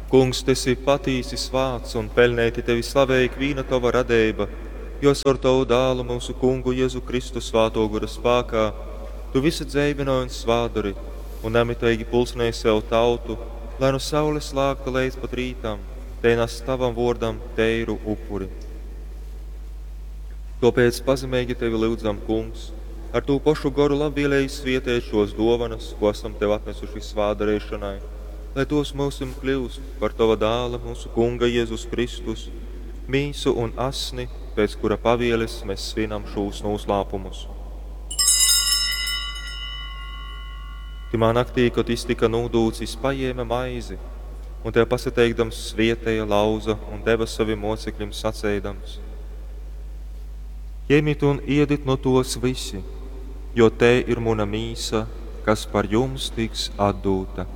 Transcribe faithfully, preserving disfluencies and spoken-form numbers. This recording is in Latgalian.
Kungs, tu esi patīsi svāts un peļneiti tevi slavej ikvīna tova radeiba, jo caur tovu Dālu, myusu Kungu Jezu Kristu Svātō Gora spākā tu vysu dzeivynoj un svātdori un namiteigi pulcynej sev tautu, lai nu saules lākta leidz pat rītam tei nas tavam vōrdam teiru upuri. Tōpēc pazemeigi tevi lyudzam, Kungs, ar tū pošu Goru labvieleigi svieteit šōs dōvonas, kū asam tev atnasuši svātdareišonai, lai tōs myusim kļyust par tova Dāla, myusu Kunga Jezus Kristus, mīsu un asni, pēc kura pavieles mes svinam šūs nūslāpumus. Tymā naktī, kod jys tyka nūdūts, jys pajēme maizi un tev pasateikdams svieteja, lauza un deva sovim mōcekļim saceidams: Jemit un iedit nu tōs vysi, jo tei ir muna mīsa, kas par jums tiks atdūta.